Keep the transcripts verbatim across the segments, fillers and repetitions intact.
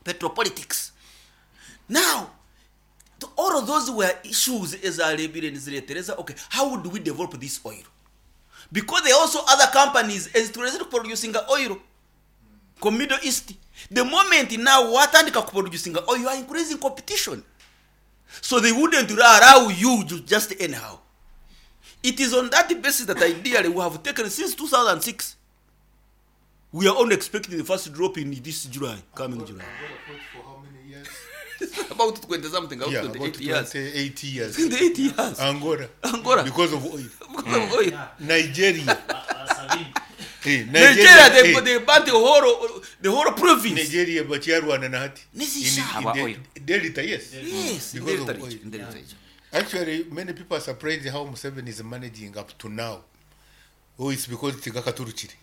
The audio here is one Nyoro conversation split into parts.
Petropolitics. Now, to all of those were issues ezarebire niziretereza okay how do we develop this oil because there are also other companies ezitulezere producing oil ku middle east the moment now watandika kuproducing oil you are increasing competition so they wouldn't allow you to just anyhow it is on that basis that ideally we have taken since two thousand six we are only expecting the first drop in this july coming july Angola fought for how many years? about twenty something about Yeah, twenty-eight about years twenty-eight years. twenty-eight years Angola. Angola. Because of oil. Because of oil. Nigeria. Hey, Nigeria, they, hey, they burnt the whole, the whole province. Nigeria bakyarwana na hati. Nizisha. In- in Aba the oil. Delta, yes. Yes, in Because Delta of oil. region, in Delta region. Actually, many people are surprised how Museveni is managing up to now. Oh, it's because tigakaturukire.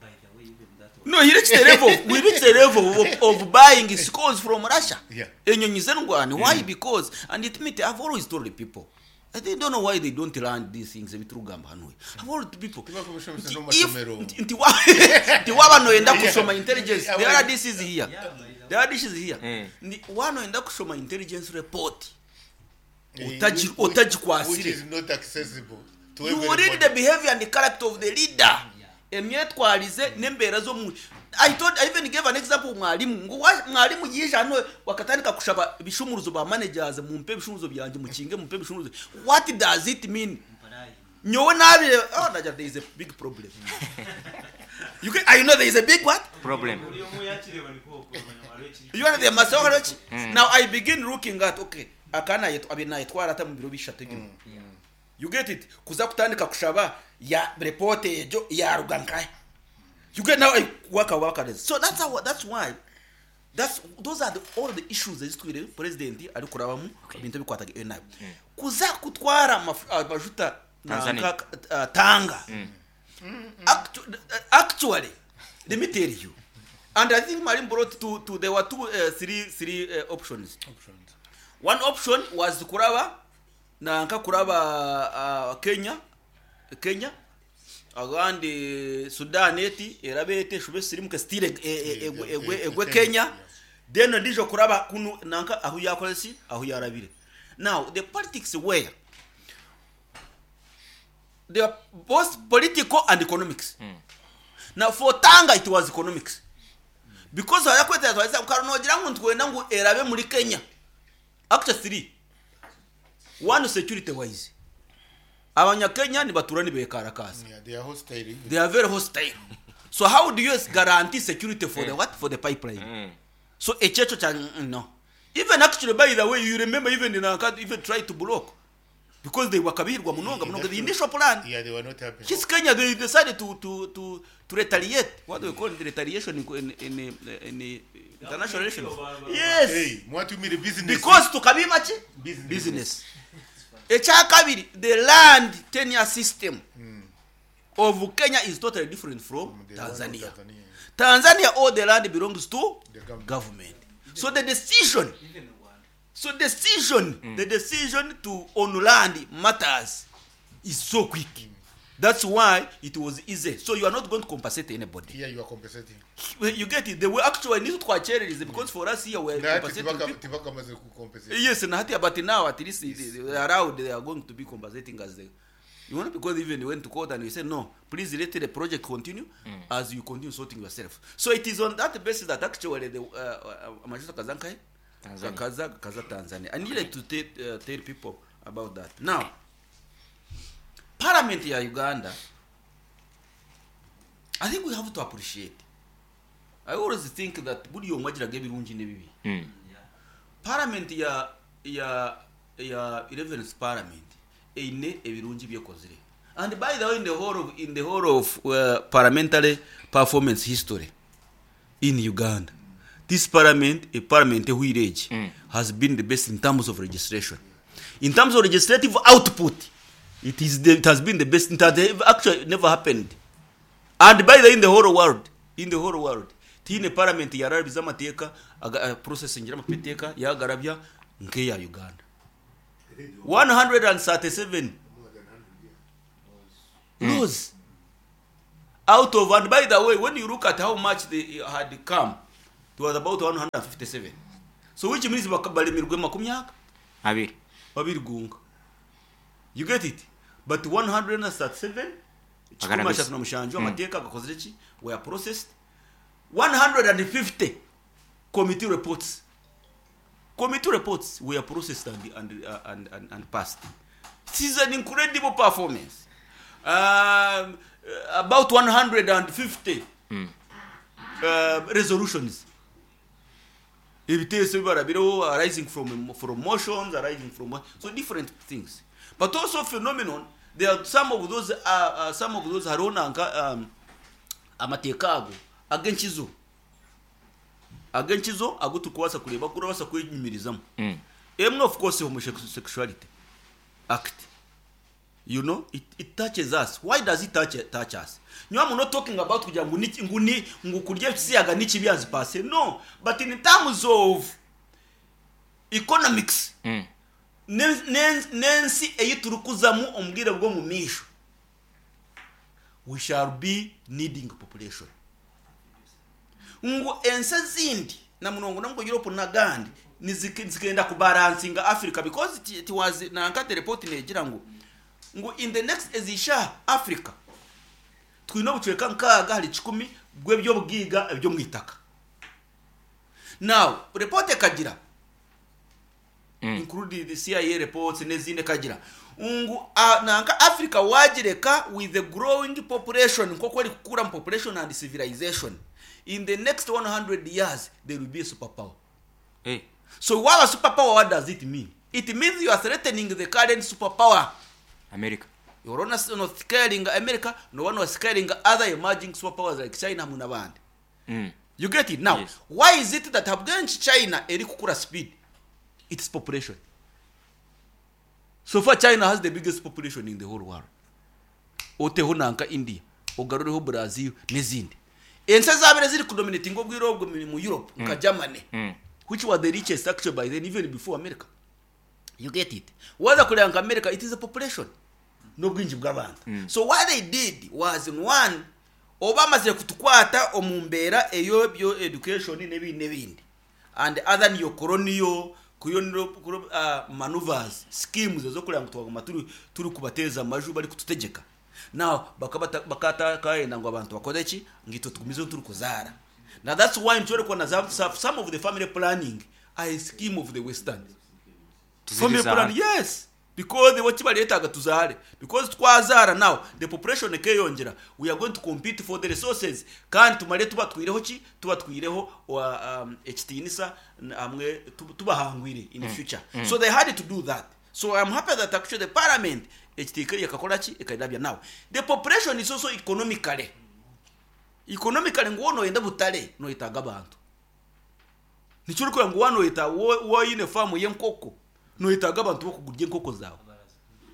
By the way, even that one. No, he reached the level. We reached the level of, of buying scores from Russia. Yeah. Enyonyi z'endwani. Why? Because and it means I've always told the people. I they don't know why they don't learn these things ebiturugamba hano. I've always told people. Tibakushomesa Nti n'amasomero. if- nti wa- nti waba noyenda Yeah. kusoma intelligence Yeah. the other this is here. Yeah, by the The other this is here. Mm. Ndi wanoyenda kushoma intelligence report. Eh, Utaji- which- which- utagikwasire. Which is not accessible to you will read everybody. the behavior and the character of the leader emyetwarize n'embeera z'omu I told, I even gave an example mwalimu ngu wa- mwalimu yije hano wakatandika kushaba ebishumuruzo ba managers mumpe ebishumuruzo byanje mukinge mumpe ebishumuruzo what does it mean Mparayi. nyowe nabire oh naja there is a big problem you can, I know there is a big what problem Buli omu yakireba niko okumanya waliwo ekiri- you are the master now I begin looking at okay akana yetu abina yetwara ata mu biro bishatu ebyuma you get it kuza kutandika kushaba ya report ejo yaruga nkahe you get now I work work so that's how that's why that's those are the, all the issues ezitwire president ari kurabamu ebintu bikwataga iyo nabi kuza kutwara amaf- amajuta na Tanzania. nka- uh, tanga Actu- actually let me tell you and i think Marim brought two, two there were two uh, three three uh, options Options. one option was kuraba nanka kuraba uh, kenya kenya agandi sudan eti erabe ete shube sirimuke stile egwe egwe egwe kenya then ndijo kuraba kunu nanka aho yakolesi aho yarabire now the politics were they are both political and economics now for tanga it was economics because ayakwetera twaza ukanogira ngo ntwenda ngo erabe muri kenya actually three one security wise abanyakenya ni baturani bekarakasa Yeah, they are hostile. they are very hostile so how do you guarantee security for the what for the pipeline so echecho cha mm, no even actually by the way you remember even in Anka even tried to block because they were kabirwa munonga munonga the initial plan Yeah, they were not happy. His Kenya they decided to to to to retaliate what do we call it retaliation in in in, in, international relations yes Hey, mwatumire business. because tukabima ki Business. business ekyakabiri the land tenure system of kenya is totally different from The one of tanzania Tanzania. tanzania all the land belongs to The government. government so the decision Even Rwanda. so decision the decision to own land matters is so quick that's why it was easy so you are not going to compensate anybody Here you are compensating. you get it they were actually need twacherereze because for us here we are Nahati compensating tibaka- people tibakamaze kucompensate. yes nahati but now at least they, they are allowed they are going to be compensating as they you know because even they went to court and we said no please let the project continue as you continue sorting yourself so it is on that basis that actually the uh, uh, Majuto Kazankai Tanzania. Kaza Kaza Tanzania I needed to tell, uh, tell people about that now parliament ya Uganda I think we have to appreciate I always think that buri omwe agiraga ebirungi n'ebibi Mm. parliament ya ya ya eleventh parliament eine ebirungi byekozire and by the way in the whole of, in the whole of uh, parliamentary performance history in uganda this parliament a parliament ehwire Mm. has been the best in terms of legislation in terms of legislative output it is the, it has been the best it has actually never happened and by the way in the whole world in the whole world tiine parliament yarabiza amateeka aga- uh, processing amateeka yagarabya nk'eya uganda one hundred thirty-seven laws out of and by the way when you look at how much they had come to It was about one hundred fifty-seven, so which means baka- balemirwe makumi aga abiri. Babiri gunga, you get it? But one hundred thirty-seven, kikumi Magana ashatu na mushanju amateeka gakozire ki, were processed. one hundred fifty committee reports committee reports were processed and, and, uh, and, and, and passed. It is an incredible performance. um, uh, about one hundred fifty uh, resolutions, ebiteeso bibarabireho, arising from from motions, arising from so different things. But also phenomenon, there are some of those uh, uh, some of those hariho nanka um, amateeka ago ag'enkizo ag'enkizo ago turikubaasa kureeba gurabaasa kwenyumirizamu. Mm. Emwe, of course, Homosexuality Act. You know it, it touches us. Why does it touch, touch us? Nyo, I'm not talking about kugira ngo ni ngo ni ngo kurya ebisiyaga n'ikibyazi pase, no, but in terms of economics, Mm. ne- ne- n'ensi eyi turikuzamu omu bwire bw'omu maisho, we shall be needing population, ngu ensi ezindi na munongo namgo Europe n'agandi nizike- zikenda kubalancinga Africa, because it, it was nankate report negira ngu ngu in the next ezisha Africa twine obucweka nkaaga hari kikumi bw'ebyobwiga ebyo mu itaka. Now report ekagira, Mm. including the C I A reports n'ezindi, ekagira ngu uh, nanka Africa wagireka with the growing population nk'oku eri kukura mu population and civilization, in the next one hundred years there will be a superpower. Eh. So waba superpower, what does it mean? It means you are threatening the current superpower. America. You're not, not scaling America, no one was scaling other emerging superpowers like China hamwe n'abandi. Mm. You get it now? Yes. Why is it that habwenshi China eri kukura speed? Its population. So far China has the biggest population in the whole world, oteho nanka India, ogarureho Brazil n'ezindi ensi ezabire ziri kudominating obwire obwo mu mu Europe, nka Germany, Mm. which was the richest actually by then, even before America. You get it? Waza kureba nka America, it is a population n'obwingi bw'abantu. So what they did was, in one, oba bamazire kutukwata omu mbeera eyo byo education n'ebindi n'ebindi and other neocolonial colonial uh, maneuvers, schemes ezokureba ngu twaguma turi turi kubateeza amaju bari kututegeka. Now bakata bakata ngu abantu bakore ki, ngu itwe tugumize turi kuzaara. Now that's why nshobora kubona za- some of the family planning are a scheme of the Western family Tuzirizaara. plan. Yes, because what kibareetaga tuzaare, because twazaara, now the population ekeyongera, we are going to compete for the resources, kandi tumare tuba twireho ki, tuba twireho wa, um, ekitiinisa n- hamwe tu- tubahangwire in the future. So they had to do that. So I'm happy that actually the parliament ekitiika yakakora ki, ekairabya. Now the population is also economically economically ngu wonoyenda butare noyetaaga abantu. Nikyo orikugira ngu wanoyeta woyine faamu y'enkoko, noyetaaga abantu bokugurya enkoko zawe.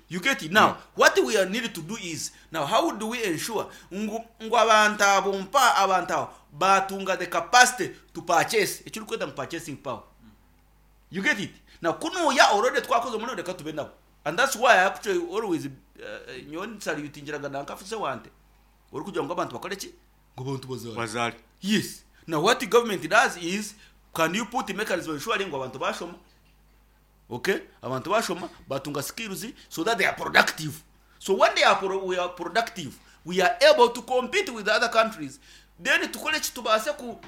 You get it? Now what we are need to do is, now how do we ensure ngu ngu abantu abo mpa abantu abo batunga the capacity to purchase, ekyo orikweta mu purchasing power? You get it? Now kunuya already twakoze muno, reka tube nabo. And that's why I actually always uh, nyowe nsalutingiraga nankafuse wante ori kugira ngo abantu bakore ki, ngo abantu bazare. Bazare. Yes. Now what the government does is, can you put mechanism ensuring ngo abantu bashoma, okay, abantu bashoma batunga skills so that they are productive. So when they are pro we are productive, we are able to compete with the other countries. Then tukore ki, tubaase ku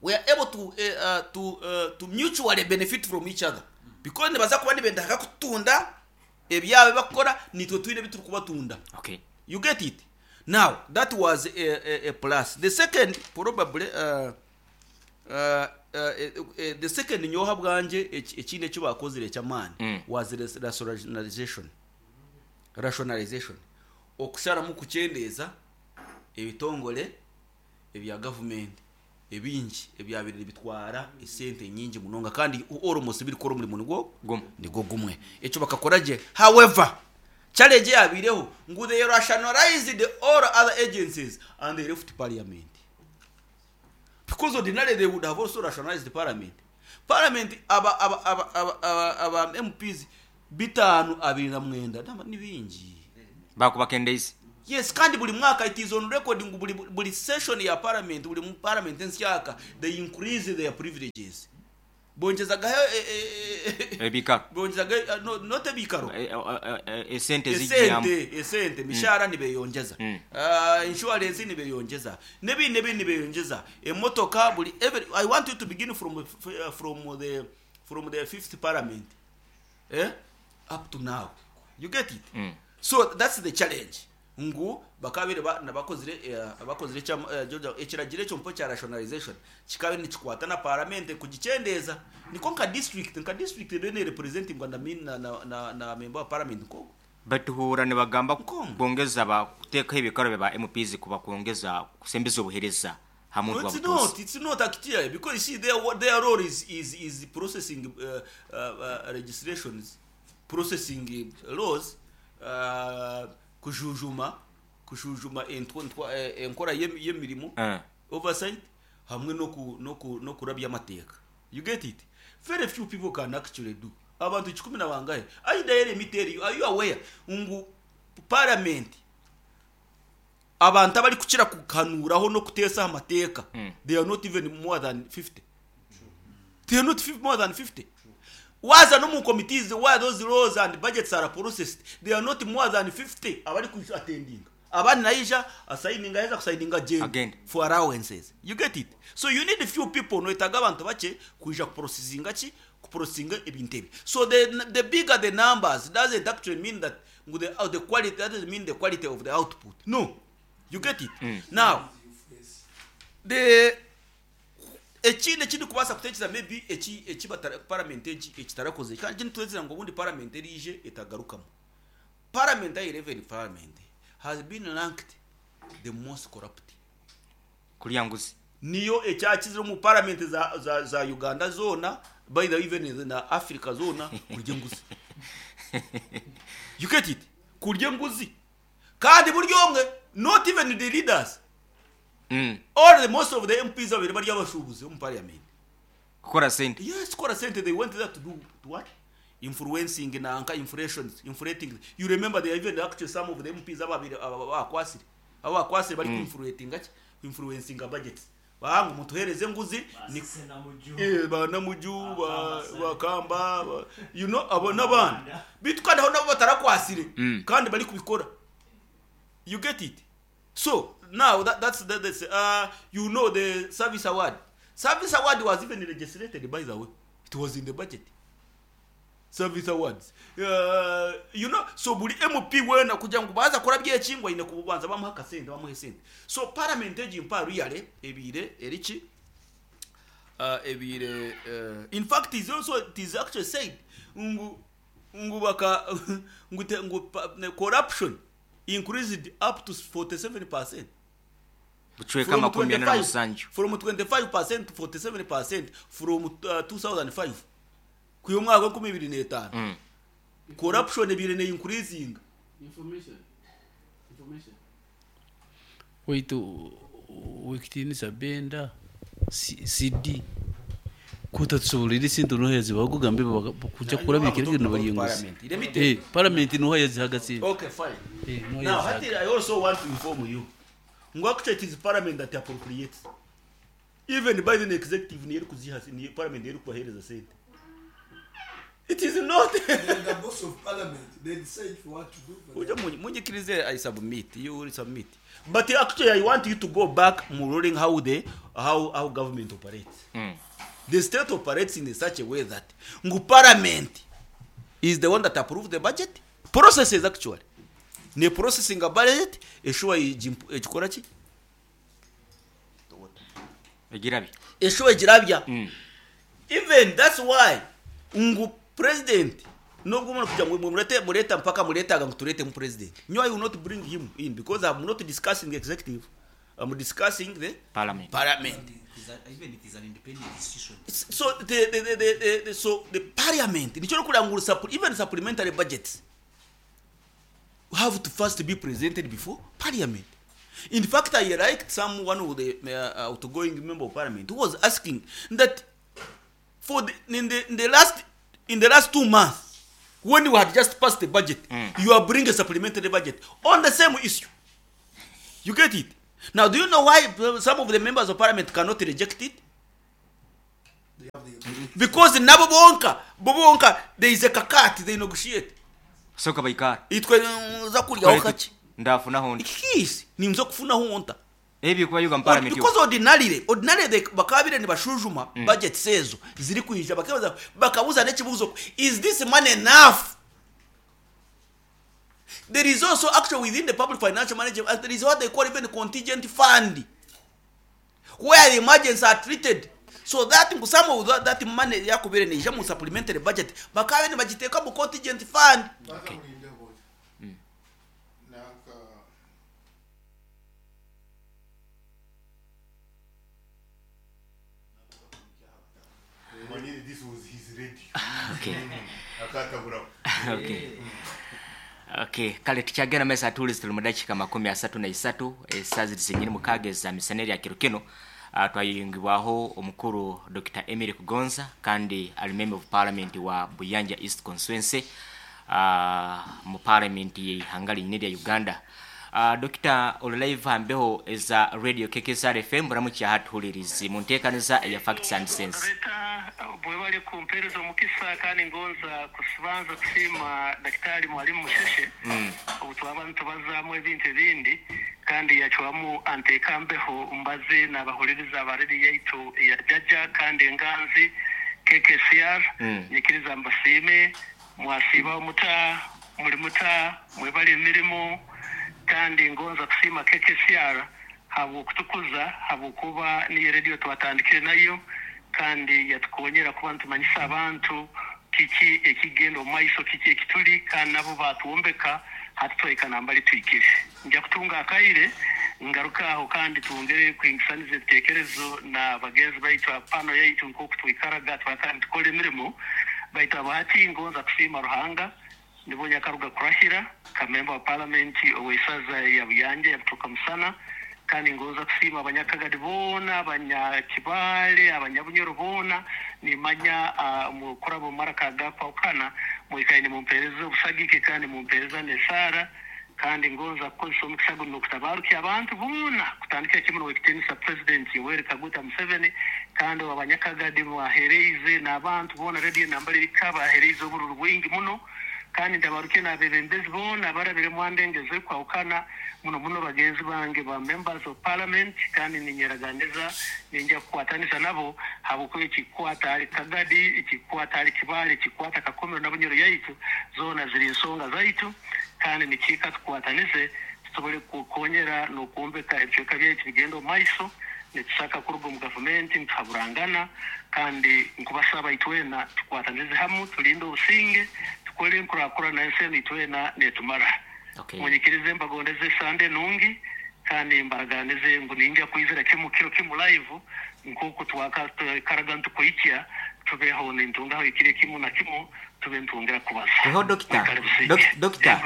we are able to uh, uh, to uh, to mutually benefit from each other, because nibaza kuba nibendaka kutunda ebyabo bakora, nitwe twine ebituri kubatunda. Okay. You get it? Now that was a, a, a plus. The second, probably, uh, uh, uh, uh, the second nyoha bwanje eki- ekindi ekyo bakozire ekyamaani Mm. was ras- rationalization rationalization okusharamu kukyendeeza ebitongole ebya gavumenti ebingi ebyabire bitwara esente nyingi munonga kandi almost birikora omurimo nigwo Gumwe. Nigwo gumwe. Ekyo bakakora gye. However, challenge yabireho ngu they rationalized all other agencies and they left parliament, because ordinarily they would have also rationalized parliament. Parliament aba aba aba aba aba, aba M Ps bitaano abiri na mwenda. Naba ni bingi. Bakubakendeeza. Yes, kandi buli mwaka it is on record ngu buli, buli session ya parliament, buli mu parliament ensyaka, they increase their privileges, bonjezagaho eh, eh, eh, Ebikaro. Bonjezaga eh, no, not ebikaro. Eh, eh, eh, esente zijjamu. esente esente mishahara nibeyongeza, Mm. uh, insurance nibeyongeza, nebindi nebindi nibeyongeza, emotoka buli every, I want you to begin from uh, from the from the fifth parliament, eh, up to now. You get it? Mm. So that's the challenge ngu bakabire ba- nabakozire eh, bakozire ekya- eh, Georgia, ekiragiro ekyo mpo kya rationalization kikabe nikikwata na parliament kugikyendeeza, niko nka district nka district bene representing na, na, na, na, na member wa parliament nko Batuhura nibagamba Nkongo. Kwongeza ba kuteekaho ebikaro bya ba M Ps kuba kwongeza kusembeza obuhereza ha muntu No, wa it's butuuzi. not. It's not actually, because you see their what their role is is is processing uh, uh, uh, legislations, processing uh, laws, uh, kujujuma kujujuma entwa- entwa- eh, enkora y'em- y'emirimo, Eh. oversight, hamwe no ku no ku no kurabya amateeka. You get it? Very few people can actually do. Abantu kikumi na bangahe? Aida let me tell you, are you aware ngu parliament abantu abari kukira kukanuraho no kuteesa amateeka, Mm. they are not even more than fifty. They are not fif- more than fifty. Waza no mu committees where those laws and budgets are processed, they are not more than fifty abari ku attending. Abandi naija asigninga, aheza kusigninga agenda Agenda. for allowances. You get it? So you need few people, noetaga abantu bake kuija kuprocessinga ki, kuprocessinga ebintu ebi. So the, the bigger the numbers doesn't actually mean that the, uh, the quality, doesn't mean the quality of the output. No. You get it? Mm. Now the ekindi ekindi kubaasa kutekereza maybe eki eki batara- parliament egi ekitarakoze, kandi kindi tuwezera ngu obundi parliament erije etagarukamu. Parliament ya eleven parliament has been ranked the most corrupt. Kulya nguzi. Niyo ekyakizire mu parliament za, za, za Uganda zona, by the way, even na Africa zona, kurya enguzi. You get it? Kurya enguzi, kandi buri omwe, not even the leaders, Mm. all the most of the M Ps babiri bari abashubuzi mu parliament. Kukora sente. Yes, kora sente. They went there to do to what? Influencing nanka inflations, inflating. You remember they even actually some of the M Ps ababiri abakwasire abakwasire bari influencing ki, influencing budgets, bangu mutuhereze nguzi ni eh banamuju ba bakamba ba, you know abo n'abandi bitu, kandi aho nabo batarakwasire, Mm. kandi bari kubikora. You get it? So now that, that's that, that's uh you know the service award service award was even legislated, by the way. It was in the budget. Service awards, uh, you know so buli M P wena kugira ngo baza kora byekingwa ine kubanza bamuha akasente, bamuha sente. So parliament egi mpa really ebire eriki uh, ebire uh, in fact is also, it is actually said ngu ngu baka ngu, te, ngu pa, ne, corruption increased up to forty-seven percent. Bucweka makumi ana na musanju. From twenty-five percent to forty-seven percent from uh, two thousand five kuyo mwaka wa twenty twenty-five. Mm. Corruption ebire ne increasing. Information, information. Waitu wekitinisa benda C- cd kutatusobolera esente nohezi bakugambe kujja kurabikira kino bali enguzi. Let me tell Eh, parliament noha yazihaga sente. Okay, fine. Eh, noha Now yazihaga. hati I also want to inform you ngu actually it is parliament that appropriates. Even by the executive niyo eri kuziha, niyo parliament eri kubahereza sente. It is not The boss of parliament, they decide for what to do for ujya munyikirize. I submit, you will submit, but actually I want you to go back mu ruling how the how how government operates. Mm. The state operates in such a way that ngu parliament is the one that approve the budget processes, actually ne processing a budget eshuwa ekikora ki. Egirabye. Eshuwa egirabya. Mm. Even that's why ngu president nubwo umuntu kugira ngo murete mureta mpaka muretaga ngo turete mu president nyo, I will not bring him in because I'm not discussing the executive, I'm discussing the Parliament. Parliament. It is a- even it is an independent institution. So the, the, the, the, the, the, so the parliament nicyo kugira ngo supple- even supplementary budgets have to first be presented before parliament. In fact, I liked some one of the uh, outgoing member of parliament who was asking that for the, in the in the last in the last two months when you had just passed the budget, Mm. you are bringing a supplementary budget on the same issue. You get it? Now, do you know why some of the members of parliament cannot reject it? Because nabo bonka, bo bonka, there is a kakat, they negotiate. Soka baikara. Itwe za kulya wakati. Ndafunaho nti. Ikisi, nimzo kufunaho nta. Ebi kuba yuga parliament. Because ordinarily, ordinarily they bakabire ni bashujuma mm. budget sezo ziri kuija bakabaza bakabuza nekibuzo, is this money enough? There is also actually within the public financial management, there is what they call even contingent fund, where the emergencies are treated. So that some of that, that money yakubire ni jamu supplementary budget bakabe ni bagiteka mu contingent fund. Okay. Mm. This was his radio. Okay. Okay. Okay, kale tukyagenda mesa atulizi tuli mu dakiika makumi asatu na isatu esaazi zisinyiri mukaaga eza misana erya kiro kino. Uh, twayingibwaho omukuru Doctor Emily Kugonza kandi ali member of parliament wa Buyanja East Constituency uh, mu parliament y'ihanga linyine lya Uganda. Uh, Doctor oli live ambeho eza radio K K S R F M buramukya hatuhulirizi mu nteekaniza eya Facts and Sense. Bwebale kumpereza omukisa kandi ngonza kusibanza kusiima Daktari Mwalimu Musheshe mm. obutwaba ntubazaamu ebintu ebindi kandi yacwamu anteekambeho mbaze n'abahuliriza abariri yaitu ya jaja kandi enganzi K K S R mm. nyikiriza mbasiime mwasiiba omuta muli muta mwebale emirimu kandi ngonza kusiima K K S R habw'okutukuza habw'okuba niyo radio twatandikire nayo kandi yatukonyera kuba ntumanyisa abantu kiki ekigenda omu maiso kiki ekituli kandi nabo batuwombeka hatutweka nambali twikire. Nja kutunga akaire ngaruka aho kandi tuongere kuingisaniza ebitekerezo na bagenzi baitu apano yaitu nk'oku twikaraga twakandi tukora emirimo baitu abahati ngonza kusiima Ruhanga nibonya karuga kurahira kamemba wa parliament oweisaza ya Buyanja yabutuka musana kandi ngonza kusiima abanyakagadi boona abanyakibale abanyabunyoro boona nimanya uh, mukurabo maraka gakwakana mwikaine mumpereza obusagike kandi mumpereza nesara kandi ngonza kukozesa omukisa guno okutabarukia abantu boona kutandikira kimwe n'owekitinisa president Yoweri Kaguta Museveni kandi abanyakagadi bahereize n'abantu boona radio nambali rikabahereize obururu bwingi muno kandi ndabaruke n'abebembezi boona barabire mwandengeze kwawukana muno muno bagenzi bange ba members of parliament kandi ninyeraganiza ninja kukwatanisa nabo habwokuba ekikwata ali Kagadi ekikwata ali Kibale ekikwata Kakomero na Bunyoro yaitu zoona ziri nsonga zaitu kandi nikiika tukwatanize tusobole kukonyera n'okwombeka ebicweka byaitu bigenda omu maiso nitusaka kuruga omu gavumenti nituhaburangana kandi nkubasaba itwena tukwatanize hamu tulinde obusinge tukole enkurakurana ensi enu itwena netumara. Okay. Munyikirize mbagondeze Sande nungi kandi mbaraganize ngu ninja kwizira kimu kiro kimu live nkuku twaka karaga ntukuikya tubeho nintungaho ikire kimu na kimu tube ntungera kubaza. Eho dokita. Dokita.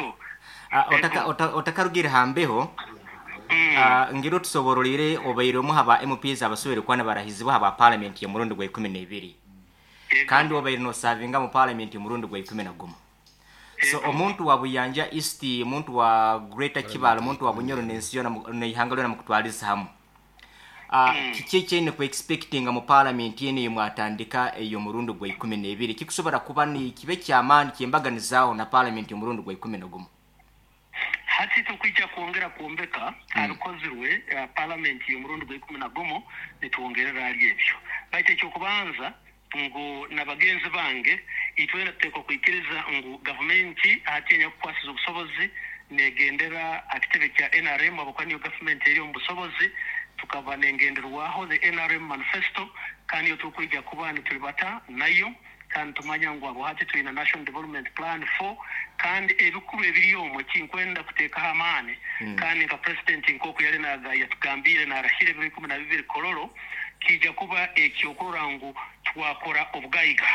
Otaka otakarugira hambeho mm. uh, ngiro tusoborolire obaire omu haba M Ps abasubire kwana barahizibwa haba parliament ya murundi gwa ikumi na ibiri. Kandi obaire no savinga mu parliament ya murundi gwa ikumi na gumu. So omuntu wa Buyanja East, omuntu wa Greater Kibale, omuntu wa Bunyoro n'ensi yona n'ihanga lyona mukutwaliza hamu. Ah uh, kiki kyene ku expecting mu parliament yene mwatandika eyo murundi gwa ikumi na ibiri kikusobora kuba ni kibe kyamaani kyembaganizaaho na parliament murundi gwa ikumi na gumu. Hati tukwijja kuongera kuombeka mm. abikozirwe uh, parliament y'omurundi gwa ikumi na gumu nituongerera ali ebyo. Baitu ekyokubanza ngu nabagenzi bange itwena tuteekwa kwikiriza ngu gavumenti atinya kukwasiza obusobozi negendera akitebe kya N R M abakwa niyo gavumenti eri omu busobozi tukaba nengenderwaho the N R M manifesto kandi yo tukwijja kuba nitulibata nayo kandi tumanya ngu abo hati tulina National Development Plan four kandi ebikuru ebiri omwo kinkwenda kuteekaho amaani mm. kandi nka president nkoku yali naga yatugambire narahire ebiro ikumi na bibiri Kololo kijja kuba ekyokurora ngu twakora obugaiga.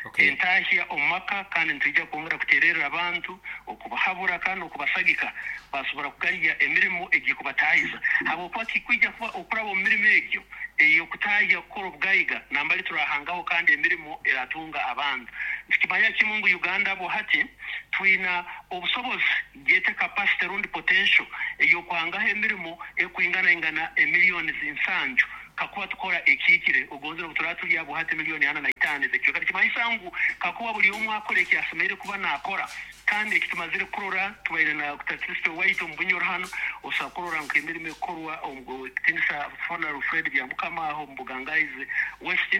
Okay. Entahya omumaka kandi nitujja kwongera kutererera abantu okubahabura kandi okubasagika basobora kugalya emirimu egikubatayiza habwokuba kikwijja kuba okuraba omu mirimu egyo ey'okutahya kukora obugaiga nambali turahangaho kandi emirimu eratunga abantu Tukimanya kimu ngu Uganda bwo hati twina obusobozi gete capacity rundi potential ey'okwangaho emirimo ekwingana ingana emiliyoni zinsanju kakuba tukora ekikire ogonzera obutura tuli abo hati miliyoni ana na itaano ezekyo. Kati kimanyisa ngu kakuba buli omu akora ekyasemereire kuba naakora kandi ekitumazire kurora tubaire na Kristo waitu omu Bunyoro hanu osobola kurora nk'emirimo ekorwa omu kitinisa Honorable Fred Byamukama aho omu Bugangaizi West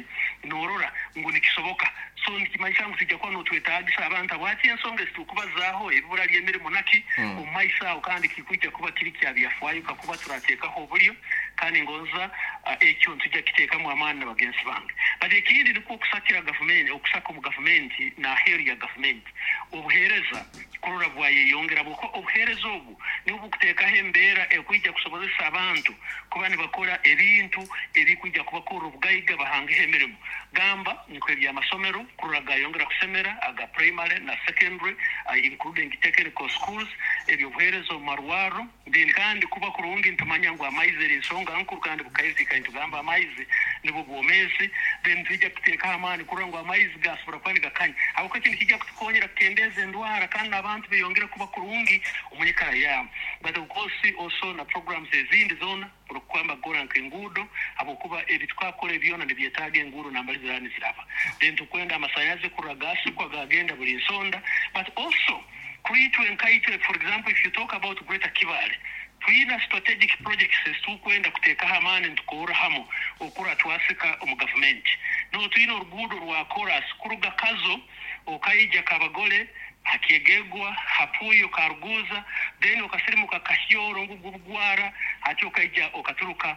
noorora ngu nikisoboka. So nikimanyisa ngu tujja kuba notwetaagisa abantu abo hati ensonga ezitukubazaaho ebibura ly'emirimo naki omu maiso aho kandi kikwija kuba kiri kya byafaayo kakuba turateekaho oburyo kandi ngonza uh, ekyo ntujja kiteekamu amaani na bagenzi bange. But ekindi nikwo okusakira gavumenti, okusaka omu gavumenti n'aheeru ya gavumenti obuheereza kurora bwayeyongera buko obuheereza obu nibwo bukuteekaho embeera ekwija kusobozesa abantu kuba nibakora ebintu ebikwija kubakorra obugaiga bahangeho emirimo. Gamba nk'ebyamasomero kurora gayongera kusemera aga primary na secondary uh, including technical schools, ebyobuheereza omu marwaro. Then kandi kuba kurungi ntumanya ngu amaizi eri ensonga nkuru kandi bukaizika nitugamba amaizi nibwo bwomeezi. Then twijja kuteekaho amaani kurora ngu amaizi gasobora kuba nigakanya habwokuba ekintu kijja kutukonyera kukendeeza endwara kandi n'abantu beyongere kuba kurungi omu nyikara yaabo. But of course also na programs ezindi zoona okukwamba kukora nk'enguudo habwokuba ebi twakora ebyona nibyetaaga enguudo nambali ziraba niziraba. Then tukwenda amasanyalazi kurora gasikwa gagenda buli nsonda. But also kuitwe nkaitwe, for example, if you talk about Greater Kibaale, twina strategic projects ezitukwenda kuteekaho amaani nitukorra hamu okura twasika omu gavumenti. No twina oruguudo rwa Koras kuruga Kazo okaija Kabagole hakyegegwa hapuyo karuguza then okasirimuka Kahyoro ngugubugwara hati okaija okaturuka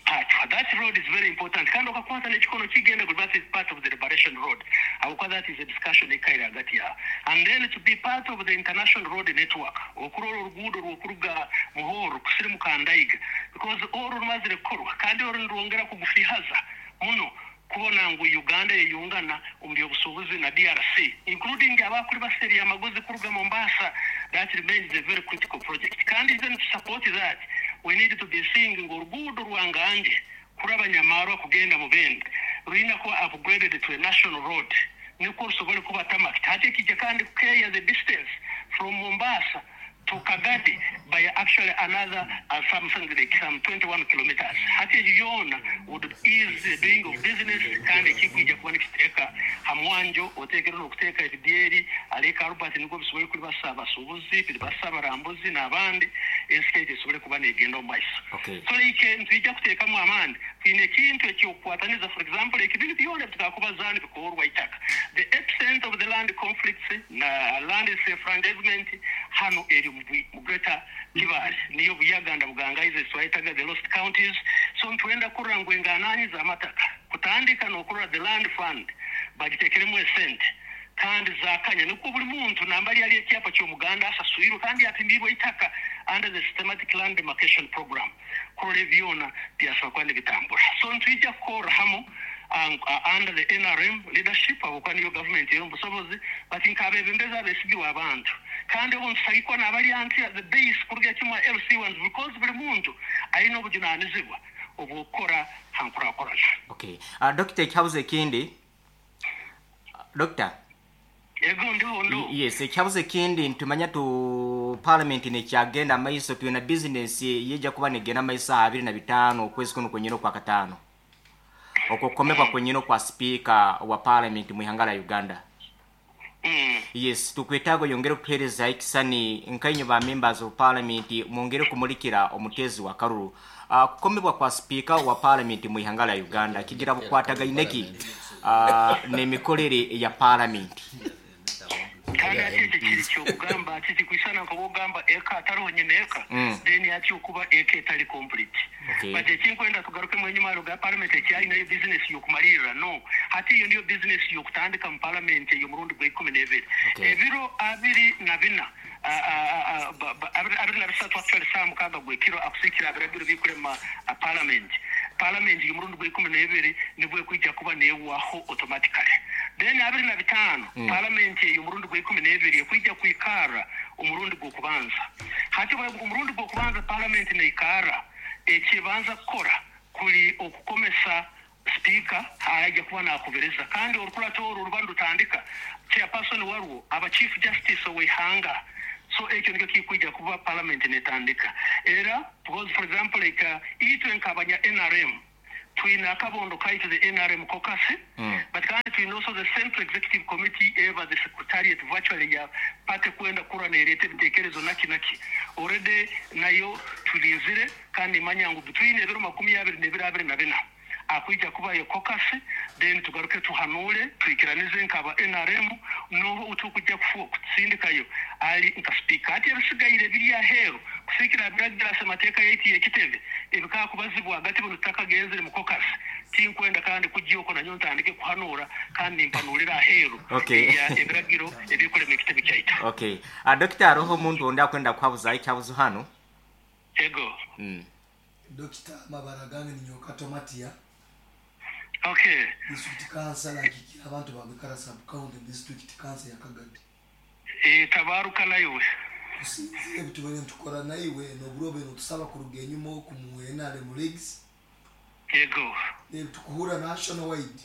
Pachwa. That road is very important. Kandi okakwata n'ekikono kigenda guli, that is part of the liberation road. Habwokuba that is a discussion ekaire hagati yaabo. And then to be part of the international road network, okurora oruguudo rw'okuruga Muhoro kusirimuka Ndaiga, because oru rumazire kukorwa kandi oru nirwongera kugufihaza muno kubona ngu Uganda yeyungana omu by'obusuubuzi na D R C, including abakuri baseeri amagozi kuruga Mombasa. That remains a very critical project. Kandi even to support that, we need to be seeing ngu oruguudo rwanganje kuraba Nyamarwa kugenda Mubende rulina kuba upgraded to a national road nikwo rusobole kuba tarmac. Hati ekijja kandi kukeeya the distance from Mombasa to Kagadi by actually another uh, something like some twenty-one kilometers. Hati ekyo yoona would ease the doing of business kandi ekikwija kuba nikiteeka ha mwanjo oteekere n'okuteeka ebidyeri aleka Albert nibwo bisobole kulibasa abasuubuzi biribasa abarambuzi n'abandi ensi yaitu esobole kuba negenda omu maiso. Okay. So like ntwija kuteekamu amaani twine ekintu ekyokukwataniza, for example ekibintu byona bitukakubazaani bikorwa itaka, the epicenter of the land conflicts na land enfranchisement hano eri mu Greater Kibaale niyo Buyaganda Bugangaize twayitaga the lost counties. So ntwenda kurora ngu engananyi z'amataka kutandika n'okurora the land fund bagiteekeremu esente kandi zakanya nikwo buli muntu nambali ali ekyapa ky'omuganda asaswirwe kandi apimirwe itaka under the systematic land demarcation program kurora ebyona byasobola kuba nibitambura. So ntwija kukorra hamu um, uh, under the N R M leadership habwokuba niyo government ey'omubusobozi, but nk'abebembezi abesigirwe abantu kandi obu ntusagikwa n'abali anti at the base kuruga kimwe L C ones, because buli muntu alina obujunaanizibwa obw'okukora ha nkurakurana. Okay. Uh, Doctor ekyabuzo ekindi Doctor Ego ndiho ndo. Yes, ekyabuzo ekindi ntumanya tu parliament nekyagenda amaiso twina business yeja kuba negenda amaiso abiri na bitaano okwezi kuno kwenyine okwa kataano okukomebwa kwenyine okwa speaker wa parliament mu ihanga lya Uganda. Mm. Yes, tukwetaaga oyongere okutuheereza ekisani nkainyo ba members of parliament mwongere kumulikira omutezi wa karuru. Uh, kukomebwa kwa speaker wa parliament mu ihanga lya Uganda kigira bukwatagaineki uh, n'emikorere ya parliament. Kandi ati ekyo kiri kyokugamba ati kikwisana nk'obwogamba eka atariho nyine eka Mm. then ati okuba eka etali complete. Okay. But ekinkwenda tugarukemu enyuma ga parliament ekyalinayo business y'okumalirira no hati iyo niyo business y'okutandika mu parliament ey'omurundi gwa ikumi n'ebiri. Okay. Ebiro abiri na bina abiri na bisatu actually saa mukaaga gw'ekiro akusiikira abiragiro bikurema parliament. Parliament y'omurundi gwa ikumi n'ebiri nibwo ekwija kuba neewaho automatically. Then abiri na bitaano Mm. parliament y'omurundi gwa ikumi n'ebiri ekwija kwikara omurundi gw'okubanza. Hati omurundi gw'okubanza parliament neikara ekibanza kukora kuli okukomesa Speaker ajja kuba nakubereza kandi orukurato orwo ruba rutandika chairperson warwo aba Chief Justice ow'ihanga. So ekyo nikyo kikwijja kuba parliament netandika era because for example like uh, itwe nkabanya N R M twina akabondo kaitu the N R M caucus, mm. but kandi twina also the Central Executive Committee eva the secretariat virtually ya pate kwenda kura nerete bitekerezo naki naki already nayo tulinzire kandi manya ngu between ebiro makumi abiri nebiri abiri na bina akwija kuba yo caucus, then tugaruke tuhanule twikiranize nkaba N R M no utukujja kutsindikayo ali nka speaker ati ebisigaire biri ahero kusikira biragira semateeka yeti ekitebe ebika kubazibwa hagati buno takagenzere mu caucus tinkwenda kandi kujyoko nanyo ntandike kuhanura kandi mpanulira ahero. Okay. Ya ebiragiro ebikole mu kitebe kyaita. Okay. A doctor roho muntu onda kwenda kwabuza icyabuzo hano. Ego. Mm. Doctor Mabaragange ni nyoka Matia. Okay. District Council akikira abantu babikara sub county district council ya Kagadi. Eh tabaruka nayo. Kusinzire bitubere ntukora naiwe no burobe no tusaba kuruga enyuma ku mu N R M leagues. Yego. Ne tukuhura national wide.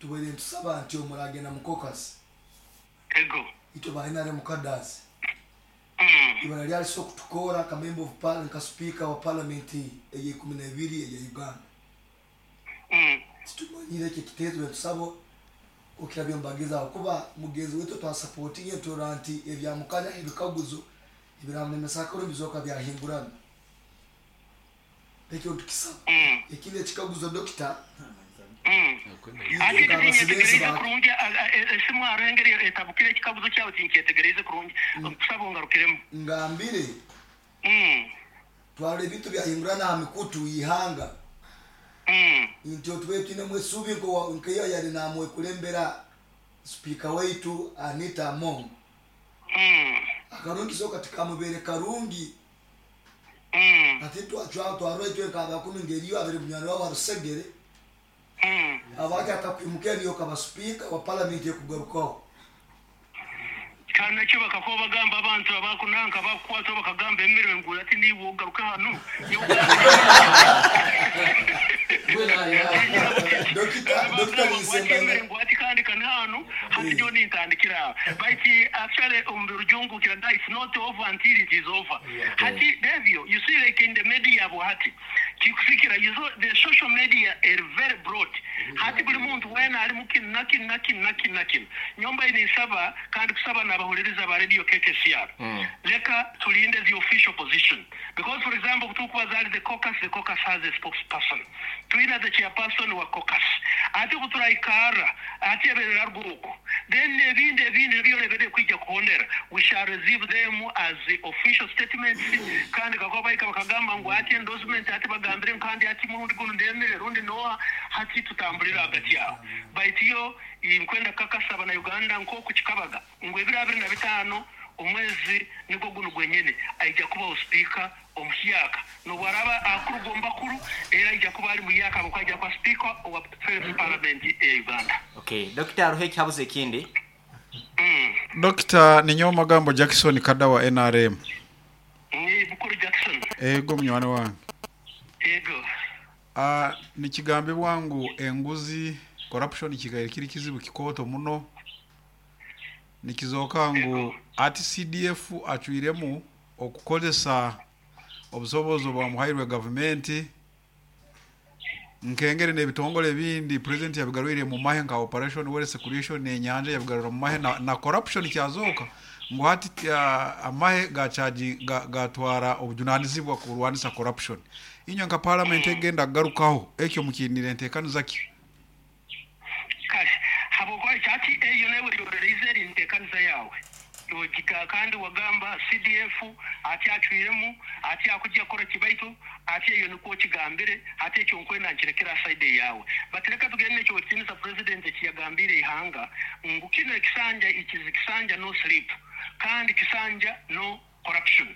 Tubere ntusaba nti omuragenda mu caucus. Yego. Ito ba N R M cadres. Mm. Ibara lyali so kutukora ka member of parliament ka speaker wa parliament eye kumi na ibiri ya Uganda. Mm. Situmanyire kitezo tusabo okirabyo mbageza kuba mugezi wetu twa supporting tolerant ebya mukanya ebikaguzo ebiramulemesa ko bizoka byahingurana ekyo tukisaba. Mm. Ekindi ekikaguzo doctor. Mm. Ati tinyetegereza kurungi esimu arengere etabukire ekikaguzo kyawe tinkyetegereze kurungi kusaba ngarukiremu ngambire. Mm. Twale ebintu byahingurana ha mikutu ihanga. Mm. Nti otwe tine mwesubi nko nkeyo yali namwe kulembera speaker wetu Anita Among. Mm. Akarungi so katika mubere karungi. Mm. Ati twachwa twarwetwe kaba kumi ngeriyo abere munyano wa Rusegere. Mm. Abaki atakwimuke niyo kaba speaker wa parliament yekugarukaho. Kana cyo bakakoba bagamba abantu abakunanka bakwata bakagamba emere ngula ati niwo garuka hano. Dokita Dokita Nisemba ngwati kandi kanano hati yo nintandikira baiti actually umurujungu kira it's not over until it is over. Hati devyo you see like in the media bo hati kikufikira you saw the social media are very broad. Hati buli muntu wena ali mukini nakin nakin nakin nakin nyomba inisaba kandi kusaba nabahuliriza ba radio K K C R. Mm. Leka tulinde the official position because for example kutukuwa zali the caucus, the caucus has a spokesperson, tuina the chairperson wa caucus ati kuturaikara ati eberera rwuko then ebindi ebindi byolebere kwijja kuhondera we shall receive them as the official statements kandi kakoba bakagamba ngo ati endorsement ati bagambire kandi ati murundi guno ndemere rundi noa hati tutambulira hagati yawo baitiyo inkwenda kakasaba na Uganda nko kukikabaga ngo ebiro abiri na bitano omwezi niko guno gwenyene aija kuba speaker omuhyaka nobwaraba akurugomba kuru era aija kuba ali muyaka abakwaja kwa speaker owa first parliament ya Uganda. Okay, Doctor Ruhe cyabuze kindi. Mm. Doctor ninyo magambo Jackson Kadawa N R M. Ni Bukuru Jackson. Ego mnywana wange. Ego. Ah nikigambe bwangu enguzi corruption kigaire kiri kizibu kikoto muno. Nikizoka ngu ati C D F acuiremu okukozesa obusobozi bwa muhairwe government nkengere n'ebitongole bindi president yabigarwire mu mahe nka operation wealth creation n'enyanja yabigarura mu mahe na, na corruption kyazoka ngu hati uh, amahe gachaji gatwara obujunanizibwa kurwanisa corruption inyo nka parliament egenda garukaho ekyo mukinire ntekaniza ki kashi habokwa chati eyo nawe yorelizeri ntekaniza yawe yogika kandi wagamba C D F ati acwiremu ati akujya kora kibaitu ati eyo niko kigambire ati ekyo nkwenda nkirekera side yawe batereka tugende ekyo wetinisa president ekiyagambire ihanga ngu kino ekisanja ikizi kisanja no sleep kandi kisanja no corruption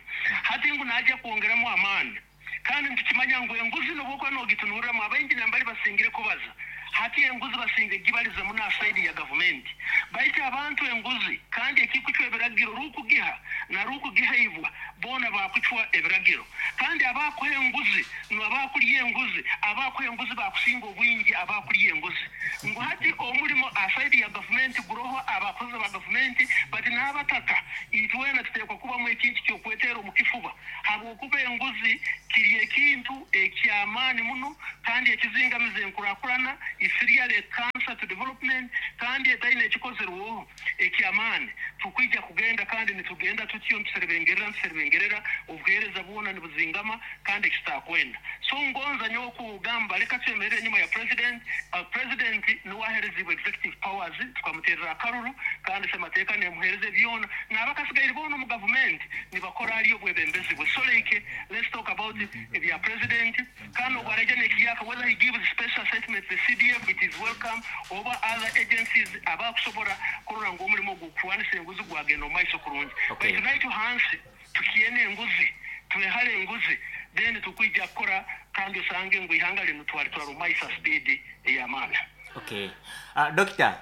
hati ngu naja kuongeramo amani kandi ntukimanya ngu enguzi nobokwa nogitunuramo abaingi nambali basingire kubaza hati enguzi basinge gibaliza muna side ya government Baitu abantu enguzi kandi ekikucwa ebiragiro rukugiha na rukugihaibwa bona bakucwa ebiragiro. Kandi abakuha enguzi n'abakulya enguzi, abakuha enguzi bakusinga obwingi abakulya enguzi. Ngu hati omulimo aside ya gavumenti guroho abakozi ba gavumenti, bati n'abataka itwena tuteekwa kubamu ekintu ky'okwetera omu kifuba, habwokuba enguzi kiri ekintu ekyamaani muno kandi ekizingamiza enkurakurana, isiriale cancer to development, kandi etaine ekikozerweho ekyamaani. Tukwija kugenda kandi nitugenda tutyo nituserebengerera nituserebengerera obuheereza bwona nibuzingama kandi ekitakwenda. So ngonza nyowe kugamba leka twemerere enyuma ya president. uh, president niwe aherezibwe executive powers, tukamuterera akaruru kandi semateeka nemuhereze byona, n'abakasigaire boona omu gavumenti nibakora ari obwebembezi bwe. So like let's talk about ebya president kandi obwaraija nekiyaka, whether he gives special assessment the C D F, it is welcome, oba other agencies abakusobora kurora ngu omulimo gw'okurwanisa enguzi gwagenda omu maiso kurungi. Okay. Baitu naitwe hansi tukiene enguzi, twehale enguzi, then tukwija kukora kandi osange ngu ihanga linu twalitwara omu maiso speed ey'amaani. Okay. Uh, Doctor,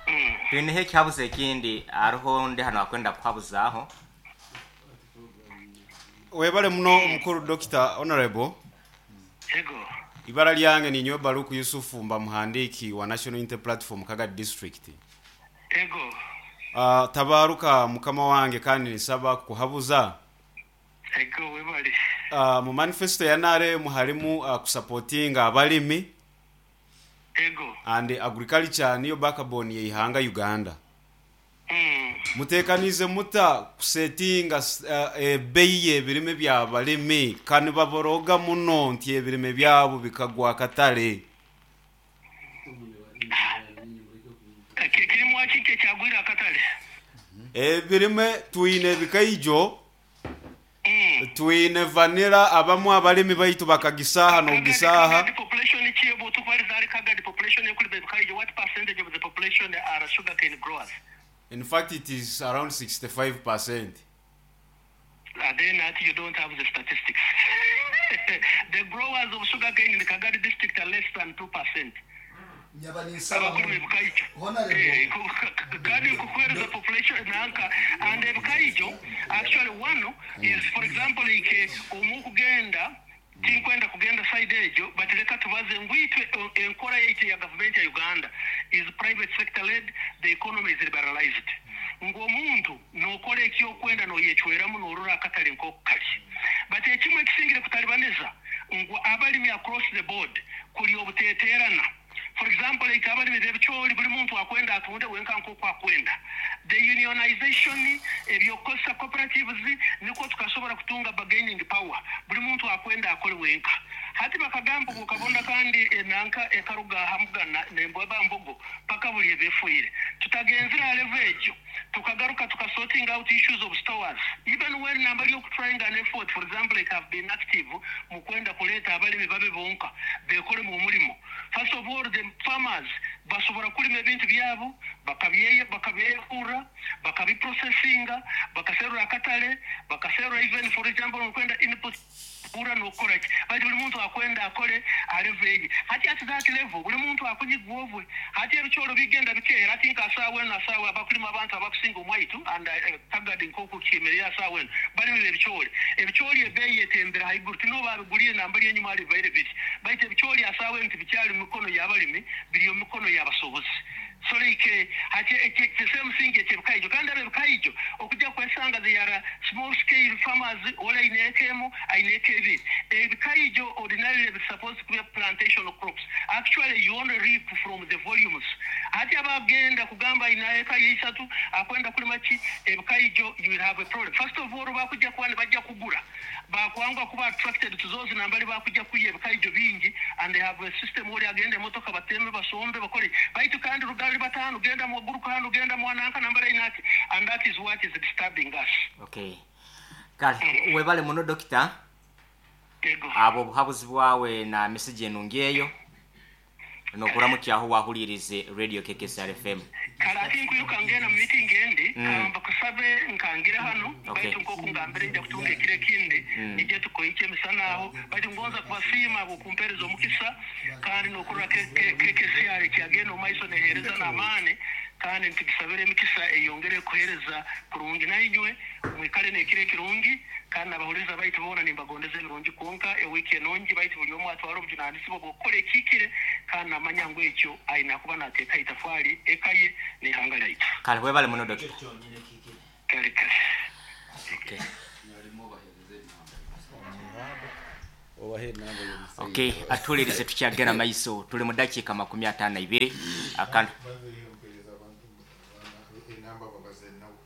Mm. twineho ekihabuzo ekindi hariho ndi hano akwenda kuhabuzaaho. Webale muno omukuru Doctor Honorable. Ego. Ibara lyange ni Nyowe Baruku Yusufu mba muhandiki wa National Unity Platform Kagadi District. Ego. Uh, tabaruka mukama wange kandi nisaba kuhabuza. Ego webale. Uh, mu manifesto ya N R M harimu uh, kusupportinga abalimi. Ego. And agriculture niyo backbone ye ihanga Uganda. Mm. Mutekanize muta kusetinga uh, ebeyi y'ebirime by'abalimi kandi baboroga muno nti ebirime byabo bikagwa akatale. Kirimu akike kyagwira akatale. Ebirime twine bikaijo. Mm. Twine vanilla abamu abalimi baitu bakagisaha n'ogisaha. The population chiebo tukwalizari Kagadi population ekuli bikaijo, what percentage of the population are sugarcane growers? In fact, it is around sixty-five percent. Uh, then that you don't have the statistics. The growers of sugarcane in the Kagadi district are less than two percent. Kandi kukwera the population nanka and ebikaijo actually one is for example like omukugenda tinkwenda kugenda side ejo, but leka tubaze ngwitwe enkora yaitu ya government ya Uganda is private sector led, the economy is liberalized. Ng'omuntu n'okola ekyokwenda n'oyecweramu n'orora akatale nk'okukali. But ekimwe ekisingire kutalibaniza ngu abalimi across the board kuli obuteeterana. For example, like abalimi b'ebicoori buli muntu akwenda atunde wenka nk'oku akwenda. The unionization ebyokukozesa cooperatives nikwo tukasobora kutunga bargaining power. Buli muntu akwenda akole wenka. Hati bakagamba bukabonda kandi enanka ekaruga hamugana nembweba mbogo paka buli ebefuire. Tutagenzera level ejo tukagaruka tukasorting out issues of stores. Even when nambali trying an effort, for example, like have been active mu kwenda kuleta abalimi babe bonka bekole mu mulimo. First of all, the farmers basobora kulima ebintu byabo bakabyeye bakabyekura bakabiprocessinga bakaserura akatale bakaserura even for example kwenda input kura nokora ki bali buli muntu akwenda akole aleveje hati at that level buli muntu akunyigwovwe hati ebicholo bigenda bikeera ati nkasawe na sawe abakulima abantu abakusinga omwaitu and uh, Kagadi nkoku kimerera sawe bali ebicholi ebicholi ebeyi etembera haiguru tino babiguliye nambali enyuma ali baire biti baite ebicholi asawe nti bikyali mikono y'abalimi biri mikono y'abasobozi. So like hati the same thing ekebikaijo kandi abebikaijo okujja kwesanga they are small scale farmers ola inekemo aineke ebikaijo ordinarily is supposed to be plantation of crops. Actually you only reap from the volumes. Hati abagenda kugamba inaeka yisatu akwenda kulima ki ebikaijo you will have a problem. First of all bakujja kuba bajja kugura bakwangwa kuba attracted to those nambali bakujja kuye ebikaijo bingi and they have a system where agenda emotoka batembe basombe bakole baitu kandi rugali batano genda mu guruka hano genda mu ananka nambali inati and that is what is disturbing us. Okay. Kale webale muno doctor. Ego. Abo buhabuzi bwawe na message enungi eyo nokuramukyaho wahulirize Radio K K S R F M. Kale nkwiruka ngenda mu meeting endi Mm. kamba kusabe nkangira hano Okay. baitu nkoku ngambire nja kutunga ekiro ekindi Mm. nijye tukoike emisana aho baitu ngonza kubasiima abo kumpereza omukisa kandi nokurora K K S R kyagenda omu maiso nehereza n'amaani Kandi nitugisabira emikisa eyongere kuhereza kurungi nainywe mwikale nekiro ekirungi kandi nabahuriza baitu boona nimbagondeza ebirungi kwonka ewiiki enungi baitu buli omwe atwara obujunanizibwa bw'okukora ekikire kandi namanya ngu ekyo aina kuba nateeka itafari eka ye n'ihanga lyaitu. Kale webale muno dokita. Kale kale. Okay. Okay, atulirize tukyagenda maiso tuli mu dakiika makumi ataano na ibiri akantu Enamba babaze nawe.